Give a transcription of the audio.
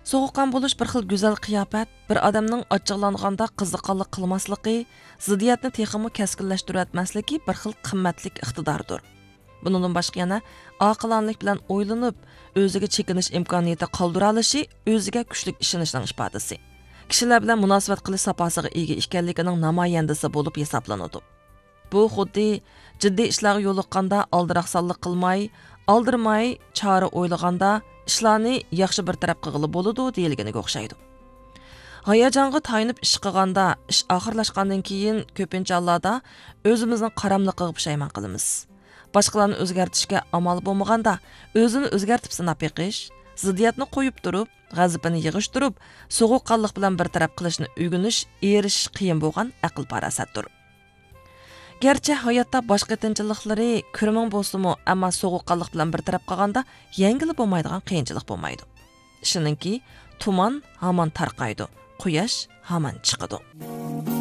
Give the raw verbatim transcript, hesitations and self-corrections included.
سوغۇققان بولۇش بىر خىل گۈزەل قىياپەت، بىر ئادەمنىڭ ئاچچىقلانغاندا قىزىقارلىق قىلماسلىقى، زىددىيەتنى تېخىمۇ كەسكىنلەشتۈرۈۋەتمەسلىكى بىر خىل قىممەتلىك ئىقتىداردۇر. بۇنىڭدىن باشقا يەنە ئاقىلانىلىك بىلەن ئويلىنىپ، ئۆزىگە چېكىنىش ئىمكانىيىتى قالدۇرالىشى ئۆزىگە كۈچلۈك ئىشىنىشنىڭ ئىپادىسى. كىشىلەر بىلەن مۇناسىۋەت قىلىش ساپاسىغا ئىگە ئىكەنلىكىنىڭ نامايەندىسى بولۇپ ھېسابلىنىدۇ. بۇ خۇددى جىددىي ئىشلارغا يولۇققاندا ئالدىراقسانلىق قىلماي، ئالدىرىماي، چارە ئويلىغاندا ئىشلارنى ياخشى بىر تەرەپ قىلغىلى بولىدۇ دېيىلگىنىگە ئوخشايدۇ. ھاياجانغا تايىنىپ ئىش قىلغاندا، ئىش ئاخىرلاشقاندىن كېيىن كۆپىنچە ھاللاردا ئۆزىمىزنىڭ قاراملىقىغا پۇشايمان قىلىمىز. باشقىلارنى ئۆزگەرتىشكە ئامال بولمىغاندا، ئۆزىنى ئۆزگەرتىپ سىناپ بېقىش، زىددىيەتنى قويۇپ تۇرۇپ، غەزىپىنى يىغىشتۇرۇپ، سوغۇققانلىق بىلەن بىر تەرەپ قىلىشنى ئۆگىنىش، ئېرىشىش قىيىن بولغان ئەقىل پاراسەتتۇر. گەرچە ھاياتتا باش قېتىنچىلىقلىرى كۈرمىڭ بولسىمۇ، ئەمما سوغۇققانلىق بىلەن بىر تەرەپ قالغاندا يەڭگىلى بولمايدىغان قىيىنچىلىق بولمايدۇ. ئىشىنىڭكى، تۇمان ھامان تارقايدۇ، قۇياش ھامان چىقىدۇ.